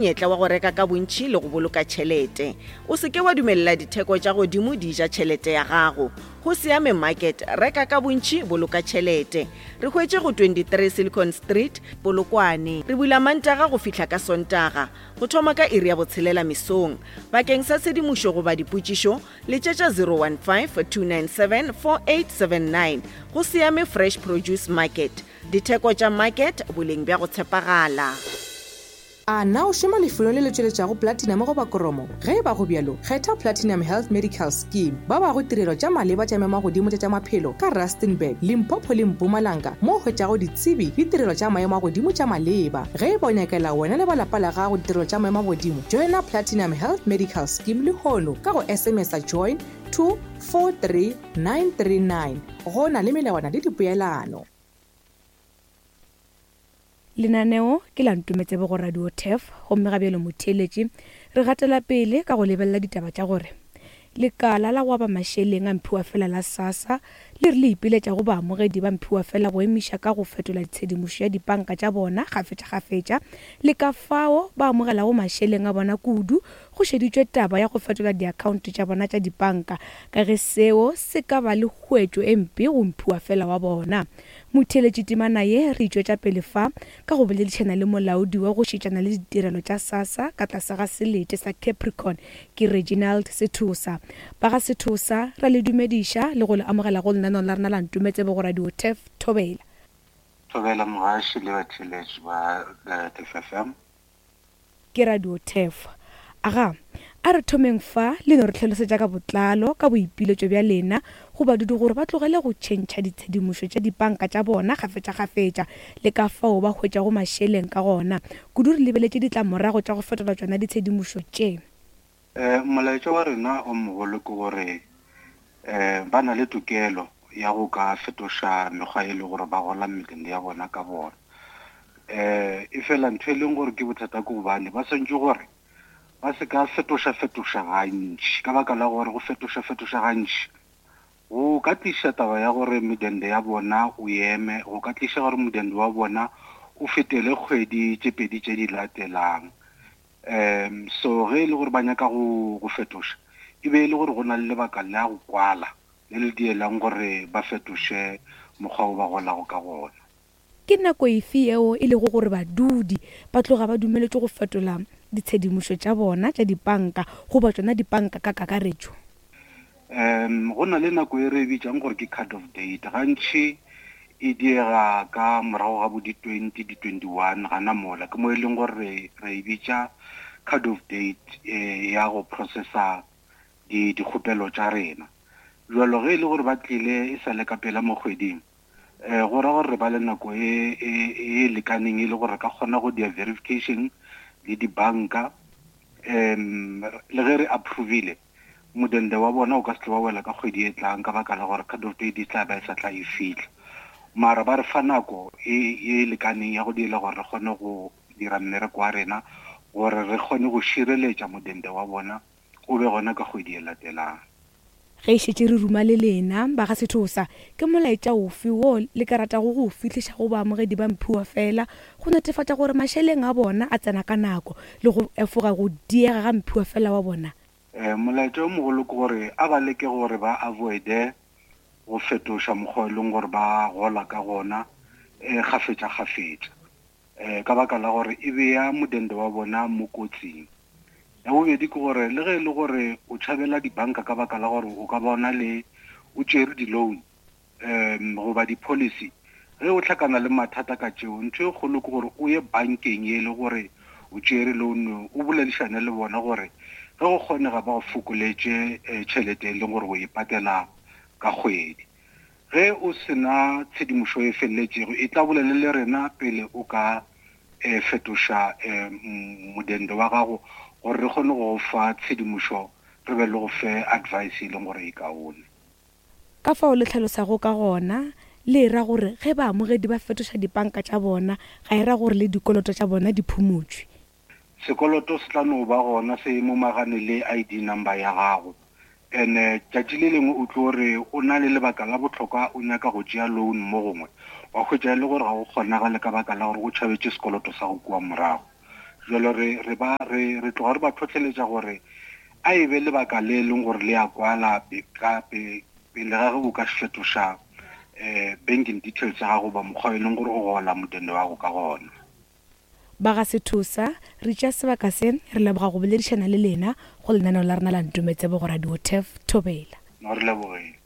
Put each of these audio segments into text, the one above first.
Monyetla wa go reka ka bontši le go boloka tšhelete. O se ke wa dumelela ditheko tša godimo di ja tšhelete ya gago. Go Siame Market, reka ka bontši, boloka tšhelete. Re hwetše go 23 Silicon Street, Polokwane. Re bula Mantaga go fihla ka Sontaga, go thoma ka iri ya botshelela mesong. Bakeng sa tshedimošo goba dipotšišo, letšetša 015 297 4879. Go Siame Fresh Produce Market, ditheko tša market, boleng bja go tshepagala. A na o šoma lefelong le le tšweletšago platinum goba kromo? Ge e ba go bjalo, kgetha Platinum Health Medical Scheme. Ba bago tirelo tša maleba tša maemo a godimo tša tša maphelo ka Rustenburg, Limpopo le Mpumalanga mo o hwetšago ditsebi le tirelo tša maemo a godimo tša maleba. Ge e ba o nyakela wena le ba lapa la gago ditirelo tša maemo a godimo, joina Platinum Health Medical Scheme lehono ka go SMS-a join to 43939. Go na le melawana le dipoelano. Lenaneo ke la Ntometsebe go Radio Turf gomme ga bjalo motheeletši re gatela pele ka go lebelela ditaba tša gore lekala la go aba mašeleng a mphiwafela la SASSA le re le ipiletša go baamogedi ba mphiwafela go emiša ka go fetola tshedimošo ya dipanka tša bona kgafetšakgafetša le ka fao ba amogelago mašeleng a bona kudu go šeditšwe taba ya go fetola diakhaonto tša bona tša dipanka ka ge seo se ka ba le khuetšo e mpe go mphiwafela wa bona. Motheeletši temana ye re e tšwetša pele fa ka go boledišana le molaodi wa go šetšana le ditirelo tša SASSA ka tlase ga selete sa Capricorn ke Reginald Sethosa. Ba ga Sethosa ra le dumediša le go le amogela go lenaneo la rena la Ntometsebe go Radio Turf Thobela. Thobela mogaši le batheeletši ba Turf FM. Ke Radio Turf. Aga, a re thomeng fa le no re hlalosetša ka botlalo ka boipiletšo bja lena go badudi gore ba tlogele go tšhentšha ditshedimošo tša dipanka tša bona kgafetšakgafetša le ka fao ba hwetšago mašeleng ka gona, kudu re lebeletše ditlamorago tša go fetola tšona ditshedimošo tše. Molaetša wa rena o mogolo ke gore ba na le tokelo ya go ka fetoša mekgwa e le gore ba gola mebele ya bona ka bona. E fela ntho e leng gore ke bothata ke gobane ba swantše gore ba se ka fetoša-fetoša gantši, ka baka la gore go fetoša-fetoša gantši go ka tliša taba ya gore medende ya bona o eme, go ka tliša gore modende wa bona o fetele kgwedi tše pedi tše di latelang. Um so ge e le gore ba nyaka go go fetoša, e be e le gore go na le lebaka la go kwala le le dielang gore ba fetoše mokgwa wo ba golago ka gona. Ke nako efe yeo e lego gore badudi ba tloga ba dumeletšwe go fetola ditshedimošo tša bona tša dipanka goba tšona dipanka ka kakaretšo? Um go na le nako e re e bitšang gore ke cut off date. Gantši e diega ka morago ga bo di-twenty, di-twenty-one gana mola. Ke mo e leng gore re, re e bitša cut off date eh, ya go processa di, dikgopelo tša rena. Jalo ge e le gore ba tlile e sa le ka pela mo kgweding, eh, go ra gore re ba le nako e, e, e lekaneng e le gore re ka kgona go dia verification le dibanka um le ge re approvile Modende wa bona o ka se tle wa wela ka kgwedi e tlang ka baka la gore cut off date e tla ba e sa tla e fihla. Mara ba re fa nako e e lekaneng ya go dira gore re kgone go dira mmereko wa rena gore re kgone go šireletša modende wa bona o be gona ka kgwedi e latelang. Ge e šetše re ruma le lena, ba ga Sethosa, ke molaetša ofe wo le ka ratago go o fihliša go baamogedi ba mphiwafela go netefatša gore mašeleng a bona a tsena ka nako le go efoga go diega ga mphiwafela wa bona? Molaetša o mogolo ke gore a ba leke gore ba avoide go fetoša mokgwa e leng gore ba gola ka gona kgafetša-kgafetša ka baka la gore e bea modende wa bona mo kotsing. Ya bobedi ke gore le ge e le gore o tšhabela dibanka ka baka la gore o ka bona le o tšere di-loan um goba di-policy, ge o hlakana le mathata ka tšeo, ntho e kgolo ke gore o ye bankeng ye e le gore o tšere loan, o boledišane le bona gore ge go kgonega ba go fokoletše eh, tšhelete e leng gore o e patela ka kgwedi. Ge o se na tshedimošo e feleletšego, e tla bolele le rena pele o ka eh, fetoša eh, modende wa gago gore re kgone go go fa tshedimošo re be le go fe advice e leng gore e kaone. Ka fao le hlalosago ka gona, le e ra gore ge baamogedi ba fetoša dipanka tša bona, ga e ra gore le dikoloto tša bona di phumotšwe. Sekoloto se tla no ba gona se momagane le ID number ya gago. Ene tšatši le lengwe o tlo re o na le lebaka la bohlokwa o nyaka go tšea loan mo gongwe, wa hwetša e le gore ga go kgonagale ka baka la gore o tšhabetše sekoloto sa go kua morago. Jwale re re ba re re tloga re ba tlhotlheletša gore a e be lebaka le e leng gore le a kwala ka pele ga ge o ka fetoša um banking details tša gago goba mokgwa e leng gore o gola modende wa gago ka gona. Ba ga Sethosa, re tšea sebaka se re leboga go boledišana le lena go lenaneo la rena la Ntometsebo go Radio Turf Thobela. No re lebogile.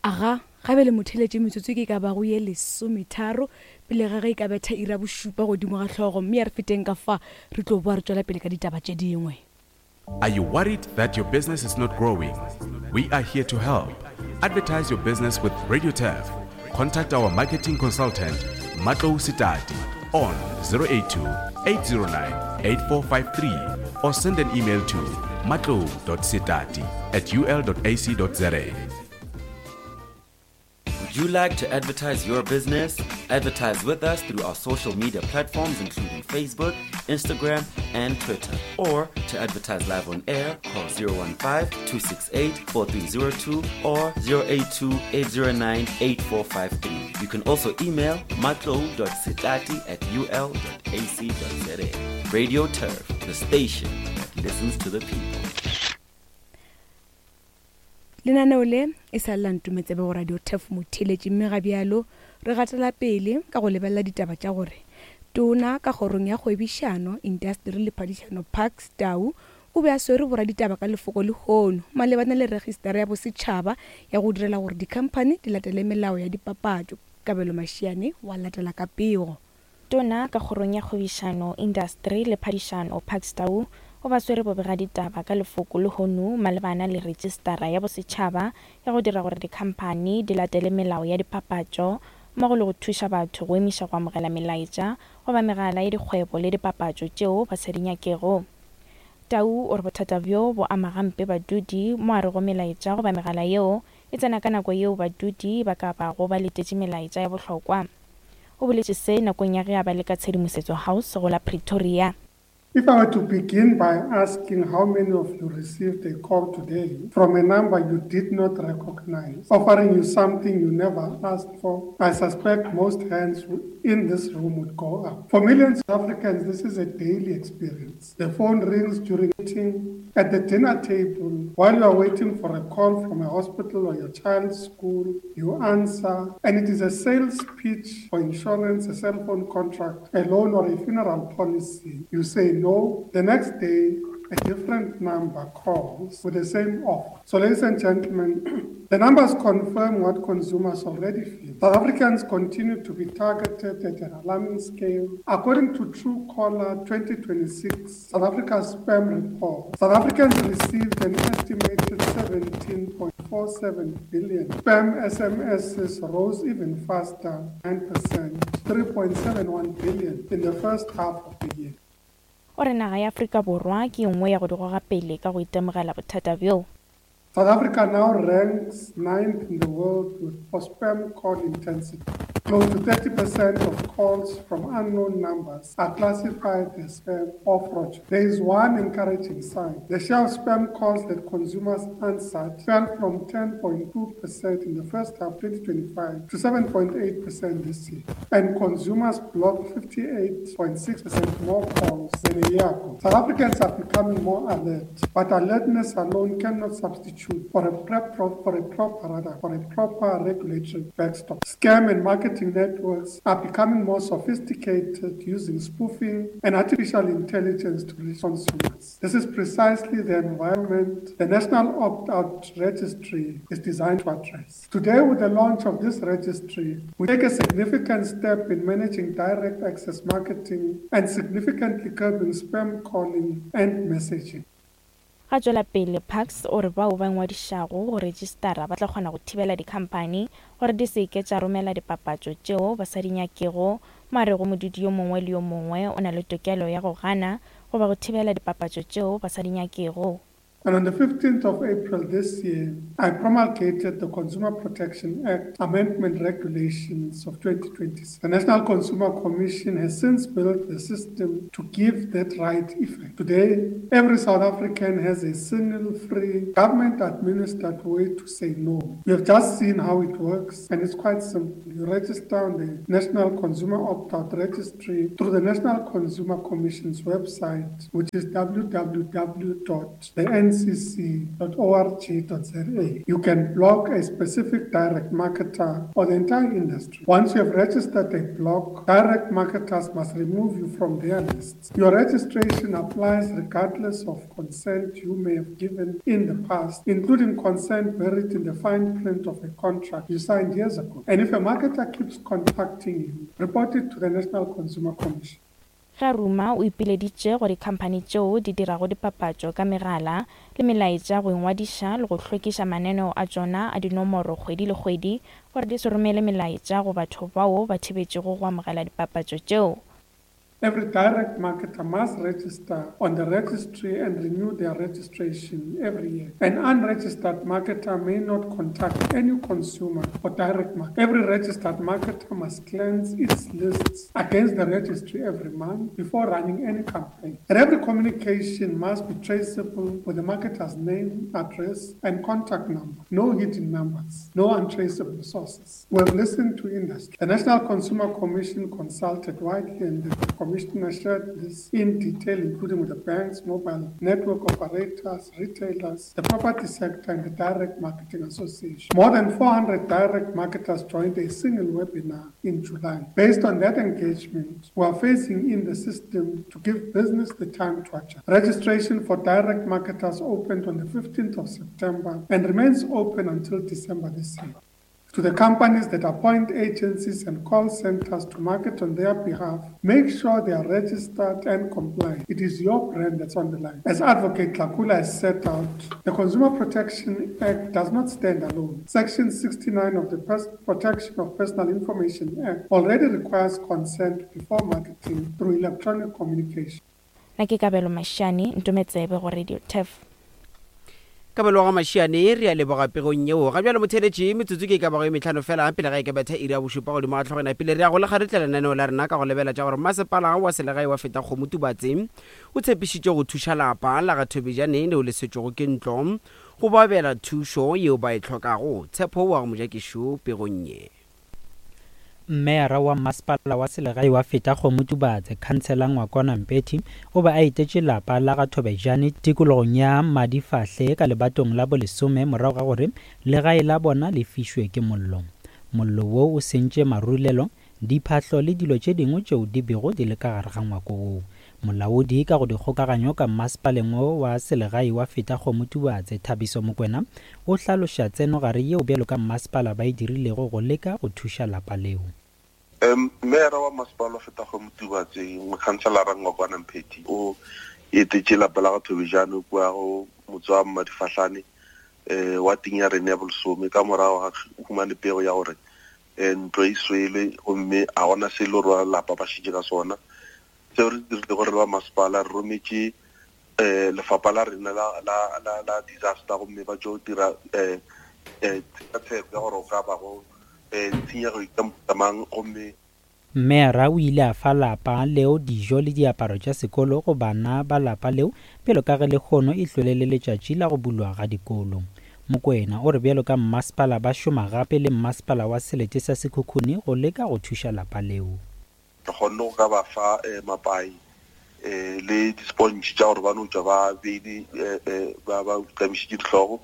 Aga, ga bjale motheeletše metsotso ke e ka bago ye lesometharo pele ga ge e ka betha iri ya bošupa godimo ga hlogo, mme a re feteng ka fa re tlo boa re tšwela pele ka ditaba tše dingwe. Are you worried that your business is not growing? We are here to help. Advertise your business with Radio Turf. Contact our marketing consultant, Matlo Sitati, on 082 809 8453 or send an email to matlo.sitati at ul.ac.za. Would you like to advertise your business? Advertise with us through our social media platforms, including Facebook, Instagram, and Twitter. Or to advertise live on air, call 015 268 4302 or 082 809 8453. You can also email matlo.sitati at ul.ac.za. Radio Turf, the station that listens to the people. Lenaneo le e sa le la Ntometsebe go Radio Turf Motheeletši mme ga bjalo re gatela pele ka go lebelela ditaba tša gore Tona ka Kgorong ya Kgwebišano, Intasteri le Phadišano Parks Tau o be a swere boraditaba ka lefoko lehono malebana le registara ya bosetšhaba ya go direla gore dikhamphani di latele melao ya dipapatšo. Kabelo Mashiane wa latela ka pego. Tona ka Kgorong ya Kgwebišano, Indasteri le Phadišano, Parks Tau, o ba swere bobegaditaba ka lefoko lehono malebana le retšistara ya bosetšhaba ya go dira gore dikhamphani di latele melao ya dipapatšo mmogo le go thuša batho go emiša go amogela melaetša goba megala ya dikgwebo le dipapatšo tšeo ba sa di nyakego. Tau o re bothata bjo bo ama gampe badudi mo a rego melaetša goba megala yeo e tsena ka nako yeo badudi ba ka bago ba letetše melaetša ya bohlokwa. O boletše se nakong ya ge a ba le ka Tshedimosetso House go la Pretoria. If I were to begin by asking how many of you received a call today from a number you did not recognize, offering you something you never asked for, I suspect most hands in this room would go up. For millions of Africans, this is a daily experience. The phone rings during meeting, at the dinner table, while you are waiting for a call from a hospital or your child's school, you answer, and it is a sales pitch for insurance, a cell phone contract, a loan, or a funeral policy. You say no. The next day, a different number calls with the same offer. So, ladies and gentlemen, the numbers confirm what consumers already feel. South Africans continue to be targeted at an alarming scale. According to Truecaller 2026 South Africa Spam Report, South Africans received an estimated 17.47 billion. Spam SMSs rose even faster, 9%, 3.71 billion in the first half of the year. O re naga ya Afrika Borwa ke ye nngwe ya go di goga pele ka go itemogela bothata bjo. South Africa now ranks ninth in the world with, for spam call intensity. Close to 30% of calls from unknown numbers are classified as spam or fraud. There is one encouraging sign. The share of spam calls that consumers answered fell from 10.2% in the first half 2025 to 7.8% this year. And consumers blocked 58.6% more calls than a year ago. South Africans are becoming more alert, but alertness alone cannot substitute for a, prep, for a proper rather, for a proper regulatory backstop. Scam and marketing networks are becoming more sophisticated using spoofing and artificial intelligence to reach consumers. This is precisely the environment the National Opt-out Registry is designed to address. Today, with the launch of this registry, we take a significant step in managing direct access marketing and significantly curbing spam calling and messaging. Ga tšwela pele, Parks o re bao ba ingwadišago go retšistara ba tla kgona go thibela dikhamphani gore di se ke tša romela dipapatšo tšeo ba sa di nyakego, mo a rego modudi yo mongwe le yo mongwe o na le tokelo ya go gana goba go thibela dipapatšo tšeo ba sa di nyakego. And on the 15th of April this year, I promulgated the Consumer Protection Act Amendment Regulations of 2026. The National Consumer Commission has since built the system to give that right effect. Today, every South African has a single, free, government administered way to say no. We have just seen how it works, and it's quite simple. You register on the National Consumer Opt Out Registry through the National Consumer Commission's website, which is www.thencc.org.za. You can block a specific direct marketer or the entire industry. Once you have registered a block, direct marketers must remove you from their lists. Your registration applies regardless of consent you may have given in the past, including consent buried in the fine print of a contract you signed years ago. And if a marketer keeps contacting you, report it to the National Consumer Commission. Ge a ruma, o ipileditše go dikhamphani tšeo di dirago dipapatšo ka megala le melaetša go ingwadiša le go hlwekiša mananeo a tšona a dinomoro kgwedi le kgwedi gore di se romele melaetša go batho bao ba thibetšego go amogela dipapatšo tšeo. Every direct marketer must register on the registry and renew their registration every year. An unregistered marketer may not contact any consumer or direct marketer. Every registered marketer must cleanse its lists against the registry every month before running any campaign. And every communication must be traceable with the marketer's name, address, and contact number. No hidden numbers, no untraceable sources. We have listened to industry. The National Consumer Commission consulted widely and the Commissioner shared this in detail, including with the banks, mobile network operators, retailers, the property sector, and the Direct Marketing Association. More than 400 direct marketers joined a single webinar in July. Based on that engagement, we are phasing in the system to give business the time to adjust. Registration for direct marketers opened on the 15th of September and remains open until December this year. To the companies that appoint agencies and call centers to market on their behalf, make sure they are registered and compliant. It is your brand that's on the line. As Advocate Tlakula has set out, the Consumer Protection Act does not stand alone. Section 69 of the Pers- Protection of Personal Information Act already requires consent before marketing through electronic communication. Na ke Kabelo Mashiane, Ntometsebe go Radio Turf. Kabelo wa ga Mashiane, re a leboga pegong yeo. Ga bjalo motheeletši, metsotso ke e ka bago e mehlano fela pele ga e ka betha iri ya bošupa godimo ga hlogwana. Pele re ya go le kgaretla lenaneo la rena ka go lebela tša gore masepala wa selegae wa Fetakgomo Tubatse o tshepišitše go thuša lapa la ga Thobejane leo le swetšwego ke ntlo go ba abela thušo yeo ba e hlokago. Tshepo wa ga Mojakešo pegong ye. Mmeyara wa Masepala wa Selegae wa Fetakgomo Tubatse, Khansela Ngwakwana Mpethi, o be a etetše lapa la ga Thobejane tikologong ya Madifahle ka lebatong la bolesome morago ga gore legae la bona le fišwe ke mollo. Mollo wo o sentše marulelo, diphahlo le dilo tše dingwe tšeo di bego di le ka gare ga ngwako woo. Molaodi ka go dikgokaganyo ka mmasepaleng wo wa selegae wa Fetakgomo Tubatse, Thabiso Mokwena, o hlaloša tsenogare yeo bjalo ka mmasepala ba e dirilego go leka go thuša lapa leo. Meyara wa masepala wa Fetakgomo Tubatse, Mokhanselara Ngwakwana Mphethi, o etetše lapa la ga Thobejane kua go motse wa Mmadifahlane um wa ting ya rena ya bolesome ka morago ga humane pego ya gore um ntlo e swele gomme a gona se e le gore ba lapa ba šetše ka sona. Seo re se dirilego re le ba masepala, re rometše um lefapha la rena la, la, la, la disaster gomme ba tšo dira um um tshekatsheko ya gore go ka bago um tshenyego e ka mohuta mang gomme Mmeara o ile a fa lapa leo dijo le diaparo tša sekolo go bana ba lapa leo bjalo ka ge lehono e hlwele le letšatši la go bulwa ga dikolo. Mokoena o re bjalo ka mmasepala ba šoma gape le mmasepala wa selete sa Sekhukhune go leka go thuša lapa leo. Re kgonne go ka ba fa mapai le di-sponge tša gore ba no tšwa ba beile ba ba tamišitše dihlogo.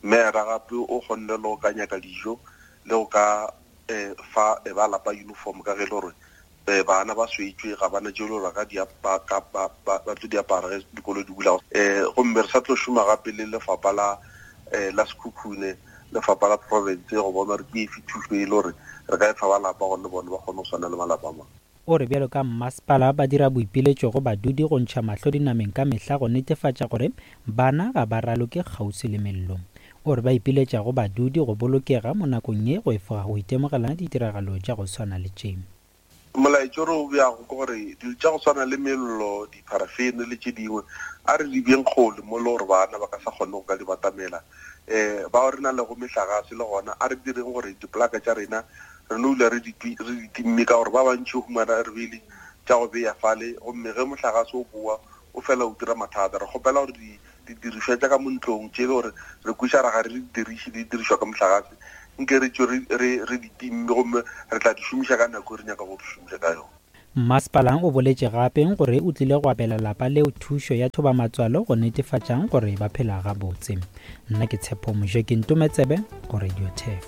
Meyara gape o kgonne le go ka nyaka dijo le go ka fa ba lapa uniform ka ge e le gore bana ba swetšwe ga bana tše e le gore ba ka di ba ka ba ba tlo di apara ge dikolo di bula. Gomme re sa tlo šoma gape le lefapha la la Sekhukhune, lefapha la province go bona gore ke efe thušo e le gore re ka e fa ba lapa gore le bone ba kgone go swana le malapa a mangwe. O re bjalo ka mmasepala ba dira boipiletšo go badudi go ntšha mahlo dinameng ka mehla go netefatša gore bana ga ba raloke kgauswi le mello. O re ba ipiletša go badudi go bolokega mo nakong ye go efoga go itemogela ditiragalo tša go swana le tše. Molaetša o re o beago ke gore dilo tša go swana le mello, dipharafene le tše dingwe, a re di beeng kgole mo e le gore bana ba ka sa kgone go ka di batamela. Um bao re na lego mehlagase le gona a re direng gore dipolaka tša rena re no dula re di re di timme ka gore ba bantši o humana re beile tša go beya fale gomme ge mohlagase o boa o fela o dira mathata. Re kgopela gore di didirišwa tša ka mo ntlong tše e le gore re kweša ra ga re di diriše di dirišwa ka mohlagase nke re tšwe re re di timme gomme re tla di šomiša ka nako e re nyaka go di šomiša ka yona. Mmasepala o boletše gape gore o tlile go abela lapa leo thušo ya thobamatswalo go netefatša gore ba phela gabotse. Nna ke Tshepo Mojeki Ntometsebe go Radio Turf.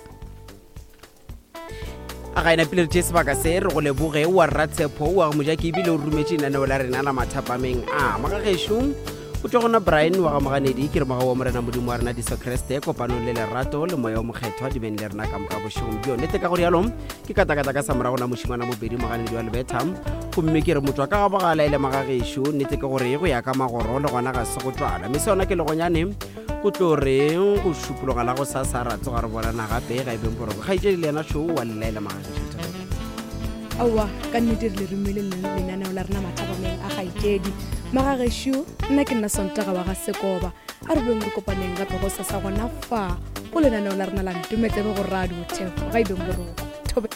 A ga ena pele re tšee sebaka se re go leboge wa rratshepho wa go mojaki ebile o rometše lenaneo la rena la mathapameng a magagešo go tšwa gona Brian wa ga Moganedi ke re moga wa Morena Modimo wa rena Jesu Kriste kopanong le lerato le moya o mokgethwa di beng le rena ka moka bošegong bjo nete ka go rialo ke katakata ka sa morago na mošimana mobedi Moganedi wa Lebetha gomme ke re motšwa ka ga bogala e le magagešo nete ke gore go ya ka magoro le gona ga se go tšwala mme se yona ke legonyane go tlo re go šupologa la go sasa ra tsoga re bonana gape ga e beng boroko kgaetšedi le yena šo wa lelaela magagešu aowa ka nnete re le romile lenaneo la rena mathabameng a kgaetšedi magagešo nna ke nna sontaga wa ga sekoba a re beng re kopaneng gape go sasa gona fa go lenaneo la rena la ntometsebe go radio thefo ga e beng boroko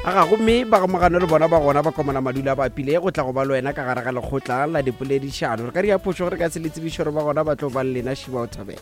Aga gomme ba gamogano le bona ba gona ba komana madula ba pile go tla go ba le wena ka gare ga lekgotla la dipoledišano. Re ka ria phošo gore ka se le tsebišo gore ba gona ba tlo ba le lena Šiba o thabela.